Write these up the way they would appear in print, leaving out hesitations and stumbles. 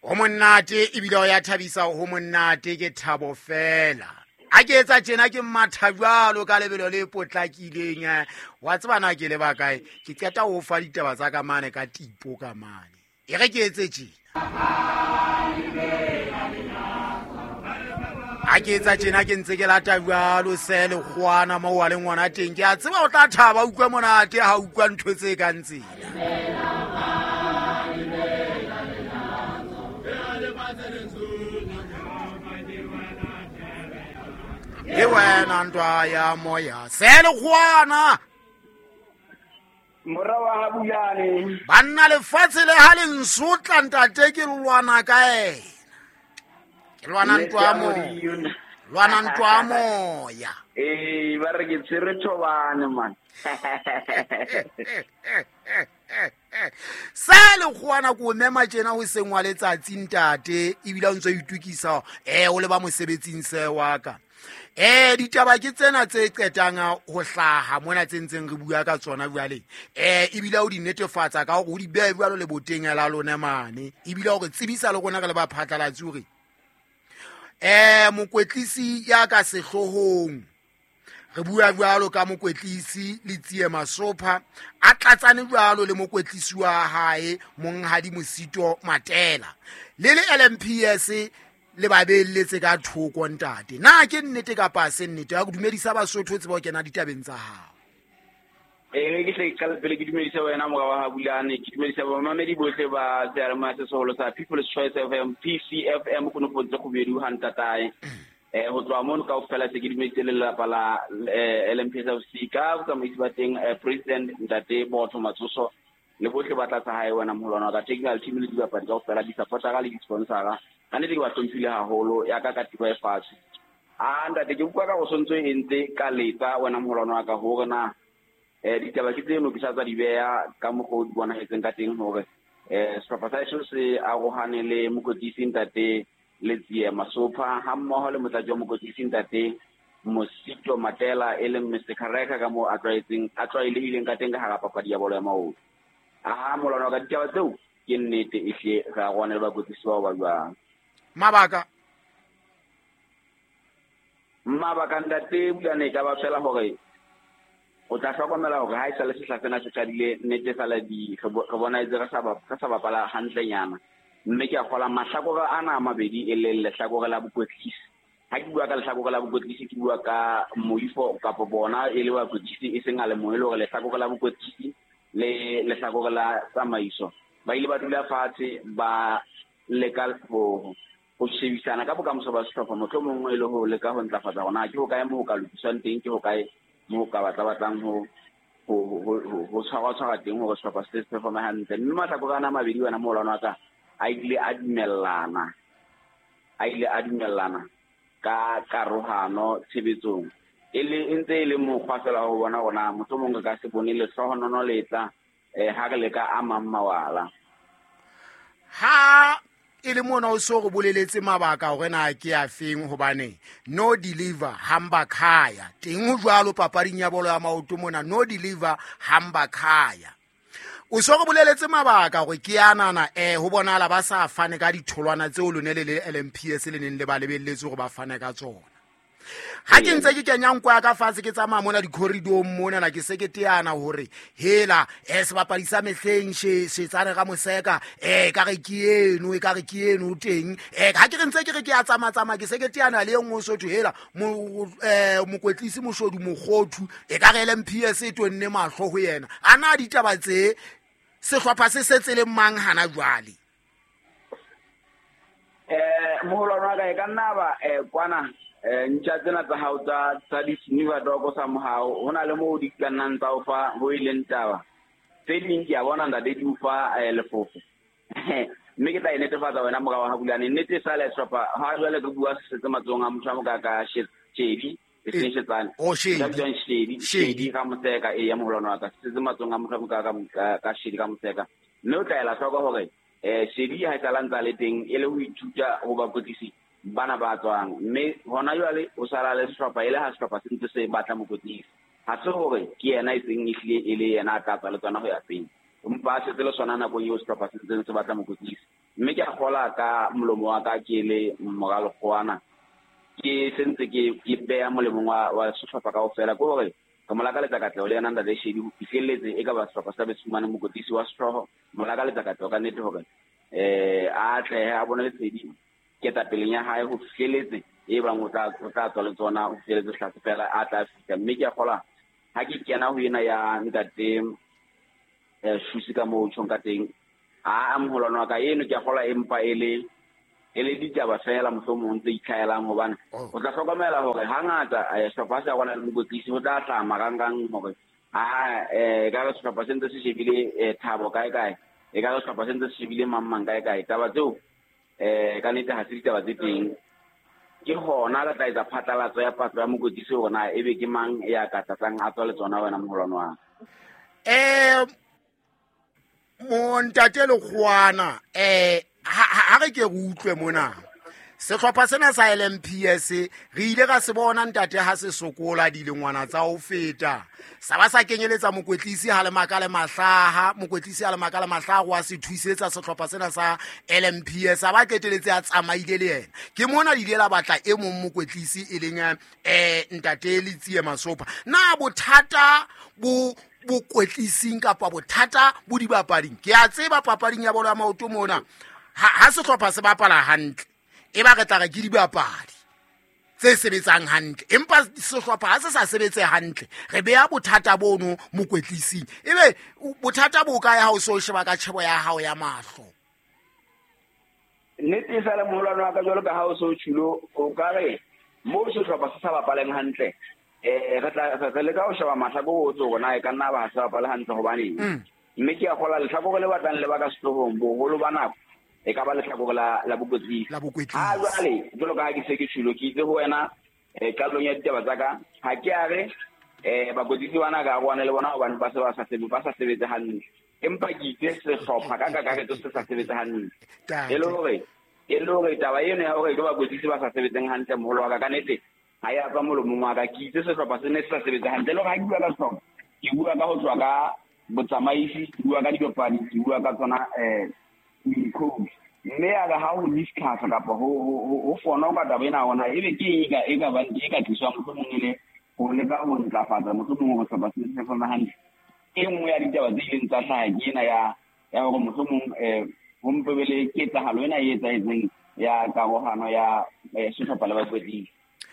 Ho monate ebile o ya thabisa, ho monate ke thabo fela. A ke etsa tjena ke matha jwalo ka lebelo le potlakileng. Wa tseba na ke leba kae? Ke qeta ho fa ditaba tsa ka mane ka tipo ka mane. E re ke etse tjena. A ke etsa tjena ke ntse ke lata jwalo se lekgoana moo wa le ngwana teng. Ke a tseba o tla thaba, utlwe monate ha utlwa ntho tse kang tsena. Ke wena ntwa ya moya se lekgoana. Mora wa Habulane. Banna lefatshe le ha le nsotla ntate ke lwana ka ena. Ke lwana ntwa ya moya. Lwana ntwa ya moya. Ee, ba re ke tshwere thobane man. Se lekgoana ko mema tjena ho seng wa letsatsi ntate, ebile o ntse o itukisa o le ba mosebetsing se wa ka. Ditaba ke tsena tse qetang ho hlaha mona tse ntseng re bua ka tsona jwale. Ebile o di netefatsa ka hore o di behe jwalo le boteng la lona mane. Ebile o re tsebisa le rona re le ba phatlalatsi hore mokwetlisi ya ka sehloohong, re bua jwalo ka mokwetlisi Letsie Masopha a tlatsane jwalo le mokwetlisi wa hae Monghadi Mosito Matela le le LMPS le ba beelletse ka thoko ntate. Na ke nnete kapa se nnete? Ya go dumedisa Basotho tseba o kena ditabeng tsa hao. Ee, ke tle ke qale pele ke dumedise wena mora wa Habulane, ke dumedisa bamamedi bohle ba seyalemoya se seholo sa People's Choice FM, PCFM, konofong tse kgubedu ha ntatae. Ho tloha mono kaofela se ke dumedise le lelapa la LMPS FC ka botsamaisi ba teng, President Ntate Botho Matsoso le bohle ba tlatsa hae wena moholwana wa ka, technical team le dibapadi kaofela, di-supportera le di-sponsora. Ka nnete ke ba hlomphile haholo, ya ka katiba e fatshe. A ntate ke utlwa ka go sontso e ntse ka letsa wena moholwana wa ka hore na ditaba ke tseno ke sa tsa di beha ka mokgwa o di bonahetseng ka teng hore sehlopha sa heso se arohane le mokwetlisi ntate Letsie Masopha ha mmoho le motlatsi wa mokwetlisi ntate Mosito Matela e leng Mr Kareka ka moo a tlwaelehileng ka teng ka hara papadi ya bolo ya maoto. A molwana wa ka ditaba tseo ke nnete ehle re arohane le bakwetlisi bao ba jwang. Mabaka Mabaka ntate Bulane e ka ba fela hore o tla hlokomela hore ha e sale sehla sena se qadile nnete sale di re bona etse re sa bapala hantlenyana. Mme ke a kgola mahlakore ana a mabedi e leng lehlakore la bokwetlisi. Ha ke bua ka lehlakore la bokwetlisi ke bua ka moifo kapa bona e le bakwetlisi e seng a le mong, e le hore lehlakore la bokwetlisi le lehlakore la tsamaiso ba ile ba dula fatshe ba leka ho shebisana ka bokamoso ba sehlopha, mohlomong e le ho leka ho ntlafatsa hore na ke hokae moo ho ka lokiswang teng, ke hokae moo ka batla batlang ho tshwarwa teng hore sehlopha se se performe hantle. Mme mahlakore ana a mabedi wena moholwane wa ka a ile a dumellana ka karohano tshebetsong. E le e ntse e le mokgwa fela ho bona hore na mohlomong re ka se bone lehlohonono le tla ha re leka a mang mawala. Ha e le mona o so re boleletse mabaka hore na ke a feng, hobane no deliver hamba khaya teng ho jwalo papading ya bolo ya maoto mona, no deliver hamba khaya. O so re boleletse mabaka hore ke anana ho bonahala ba sa fane ka ditholwana tseo lone le le LMPS le neng le ba lebelletse hore ba fane ka tsona. Ha ke ntse ke kenya nko ya ka fatshe ke tsamaya mona di-corridor-ong mona na ke se ke teana hore hela sebapadi sa mehleng Shetsane Ramoseka e ka re ke eno, e ka re ke eno teng. Ha ke re ntse ke re ke a tsamaya-tsamaya ke se ke teana le e nngwe Sotho hela mokwetlisi Moshodu Mokgothu e ka re LMPS e tonne mahlo ho yena. A na ditaba tse sehlopha se setse le mang hana jwale? Moholwane wa ka e ka nna ba kwana ntja tsena tsa hao tsa di-sniffer dog sa mohao, ho na le moo di ka nnang tsa o fa ho e leng taba. Tse ding ke a bona ntate di o fa lefofo. Mme ke tla e netefatsa wena mora wa Habulane. Nnete e sale sehlopha ha jwale re bua se setse matsohong a motho a moka ka Shedi, e seng Shetsane. Oh, Shedi. Ka bitswang Shedi, Shedi. Shedi Ramoseka, ee, ya moholwane wa ka. Se setse matsohong a motho a moka ka Shedi Ramoseka. Mme o tla ela hloko hore Shedi ha e sala ntse a le teng e le ho ithuta ho bakwetlisi bana ba tswang. Mme hona jwale o sala le sehlopha e le ha sehlopha se ntse se batla mokwetlisi. Ha se hore ke yena e seng ehlile e le yena a tla tswa le tsona ho ya pele. Empa a setse le sona nakong eo sehlopha se ntseng se batla mokwetlisi. Mme ke a kgolwa kgola ka molomo wa ka ke le mora Lekgowana ke sentse ke beya molemong wa sehlopha kaofela, ke hore re mo lakaletsa katleho le yena ntate Shedi ho fihlelletse e ka ba sehlopha sa be se fumane mokwetlisi wa sehlooho. Mo lakaletsa katleho ka nnete hore a atlehe, a bone lesedi ketapeleng ya hae ho fihlelletse e bang o tla tswa le tsona ho fihlelletse sehlase fela a tla fihla. Mme ke a kgolwa ha ke kena ho ena ya ntate Shusi ka moo tjhong ka teng, a moholwane wa ka eno ke a kgolwa empa e le ditaba fela mohlomong tse itlhaelang, hobane o tla hlokomela hore hangata sehlopha se rona le mokwetlisi ho tla hlaha marangrang hore ka re sehlopha se ntse se shebile Thabo kae kae, e ka re sehlopha se ntse se shebile mang mang kae kae. Taba tseo ka nnete ha se ditaba tse teng. Ke hona re tla etsa phatlalatso ya patlo ya mokwetlisi hore na ebe ke mang ya ka tlatlang a tswa le tsona wena moholwane wa ka. Montate Lekgowana, ha re ke re utlwe mona sehlopha sena sa LMPS re ile ra se bona ntate ha se sokola dilengwana tsa ho feta, sa ba sa kenyeletsa mokwetlisi ha le maka le mahlaha, mokwetlisi ha le maka le mahlaha wa se thusetsa sehlopha sena sa LMPS, a ba qeteletse a tsamaile le yena. Ke mona le ile la batla e mong mokwetlisi e leng ntate Letsie Masopa. Na bothata bo bokwetlising kapa bothata bo dibapading? Ke a tseba papading ya bolo ya maoto mona ha sehlopha se bapala hantle e ba re tla re ke dibapadi tse sebetsang hantle, empa sehlopha ha se sa sebetse hantle re beha bothata bono mokwetlising. Ebe bothata bo kae ha o so sheba ka tjhebo ya hao ya mahlo? Nnete e sale moholwane wa ka, jwalo ka ha o so tjhulo, o ka re moo sehlopha se sa bapaleng hantle re tla re leka ho sheba mahlakore ohle hore na e ka nna ba ha se bapale hantle hobaneng. Mme ke a kgolwa lehlakore le batlang le ba ka sehloohong boholo ba nako e ka ba lehlakore la bokwetlisi. Ha jwale jwalo ka ha ke se ke tjhulo, ke itse ho wena qalong ya ditaba tsa ka, ha ke a re bakwetlisi bana ka arohane le bona hobane ba se ba sa sebetse hantle, empa ke itse sehlopha ka kakaretso se sa sebetse hantle. E le hore taba eno ya hore ke bakwetlisi ba sa sebetseng hantle moholo wa ka, ka nnete ha ya tswa molomong wa ka. Ke itse sehlopha se ne se sa sebetse hantle. Le hore ha ke bua ka sehlopha, ke bua ka ho tswa ka botsamaisi, ke bua ka dibapadi, ke bua ka tsona coach. Mme ya re ha ho discuss kapa ho fona ka taba ena hona ebe ke e ka bang e ka tliswang mohlomong e le ho leka ho ntlafatsa mohlomong hore sehlopha se se fana hantle. E nngwe ya ditaba tse ileng tsa hlaha ke ena ya hore mohlomong ho mpe be le ketsahalo ena e etsahetseng ya karohano ya sehlopha le bakwetlisi.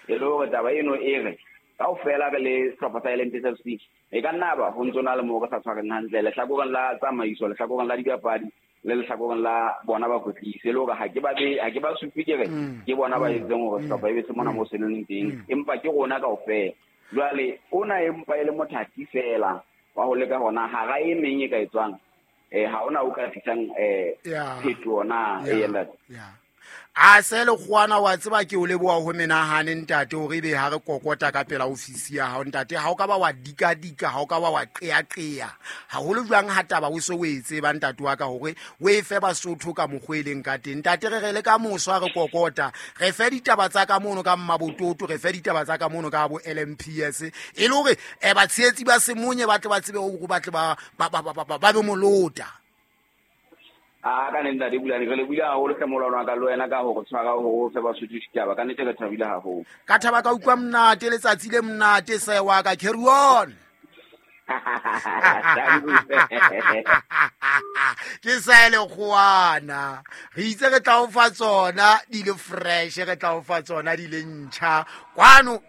E le hore taba eno e re kaofela re le sehlopha sa LMPS FC e ka nna ba ho ntso na le moo re sa tshwareng hantle lehlakoreng la tsamaiso, lehlakoreng la dibapadi le lehlakoreng la bona bakwetlisi. E le hore ha ke ba supe ke re ke bona ba etseng hore sehlopha e be se mona moo se leng teng, empa ke rona kaofela. Jwale ona empa e le mothati fela wa ho leka hona hara e meng e ka etswang ha ona o ka tlisang phetoho na e ntate. A se Lekgowana, wa tseba ke o leboha ho menahane ntate hore ebe ha re kokota ka pela ofisi ya hao ntate, ha o ka ba wa dikadika, ha o ka ba wa qeaqea haholo jwang ha taba o se o e tseba ntate wa ka hore o e fe Basotho ka mokgwa e leng ka teng. Ntate re re le ka moso ha re kokota re fe ditaba tsa ka mono ka Mmabototo, re fe ditaba tsa ka mono ka bo LMPS, e le hore batshehetsi ba Semonye ba tle ba tsebe hore ba tle ba be molota. A ka ntate Bulane, re le buile haholo hle molwana wa ka le wena ka hore tshwara hore o fe Basotho ditaba. Ka nnete re thabile haholo. Ka thaba ka utlwa monate, letsatsi le monate se wa ka, carry on. Ke sa Lekgowana, re itse re tla o fa tsona di le fresh, re tla o fa tsona di le ntjha kwano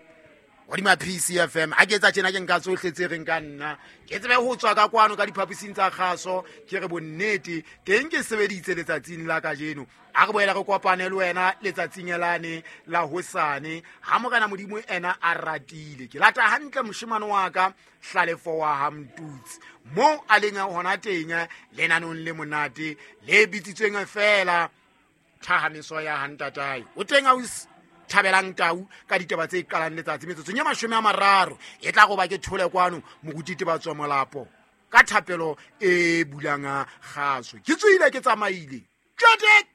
hodima PCFM. Ha ke etsa tjena ke nka tsohle tse reng ka nna, ke tsebe ho tswa ka kwano ka diphaposing tsa kgaso, ke re bonnete teng ke sebeditse letsatsing la kajeno. A re boela re kopane le wena letsatsing lane la hosane ha Morena Modimo ena a ratile. Ke lata hantle moshemane wa ka Hlalefo wa ha Mtutsi moo a leng hona teng lenanong le monate le bitsitsweng feela Thahamiso ya ha ntatae. O teng ausi Thabelang Tau ka ditaba tse qalang letsatsi metsotsong ya 30 e tla go ba ke thole kwano moruti Tebatswa Molapo ka thapelo e bulang kgaso. Ke tswile ke tsamaile. Tjete!